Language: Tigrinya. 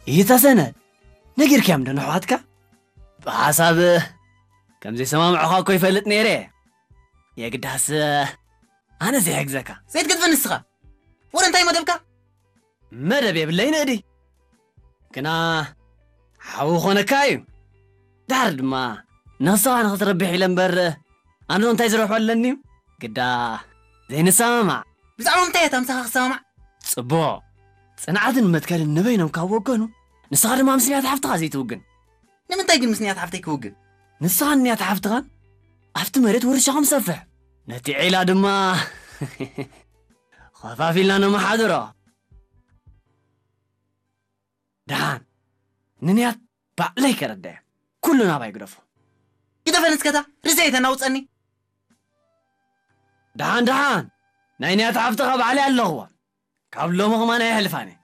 ይታ ሰነድ፣ ነጊርካዮም ዶ ንኣሕዋትካ? ብሓሳብ ከም ዘይሰማምዑኻ እኮ ይፈልጥ ነይረ። የግዳስ ኣነ ዘይሕግዘካ። ዘይትገድፈ ንስኻ። ወረ እንታይ መደብካ? መደብ የብለይ ንእዲ። ግና ሓው ኾነካ እዩ። ድሓር ድማ ንኽስኻ ንኽትረብሕ ኢለ እምበር ኣነ እንታይ ዝረብሖ ኣለኒ እዩ? ግዳ ዘይንሰማማዕ። ብዛዕባ ምንታይ እያ እታ ምሳኻ ክሰማማዕ? ጽቡቕ። ጽንዓትን መትከልን ንበይኖም ካብ ወገኑ፣ ንስኻ ድማ ምስ ንያት ሓፍትኻ ዘይትውግን። ንምንታይ ግን ምስ ንያት ሓፍተይ ክውግን? ንስኻን ንያት ሓፍትኻን ኣብቲ መሬት ውርሻኹም ሰፍሕ። ነቲ ዒላ ድማ ኸፋፊልና ነመሓድሮ። ደሓን፣ ንንያት ባዕለይ ከረዳየ። ኩሉ ናባይ ግደፎ። ግደፈ ንስከታ፣ ርእሰይ ተናውጸኒ። ደሓን፣ ደሓን፣ ናይ ንያት ሓፍትኻ ባዕለይ ኣለኽዎ። ካብ ሎሚ ኸማን ኣየሕልፋን እየ።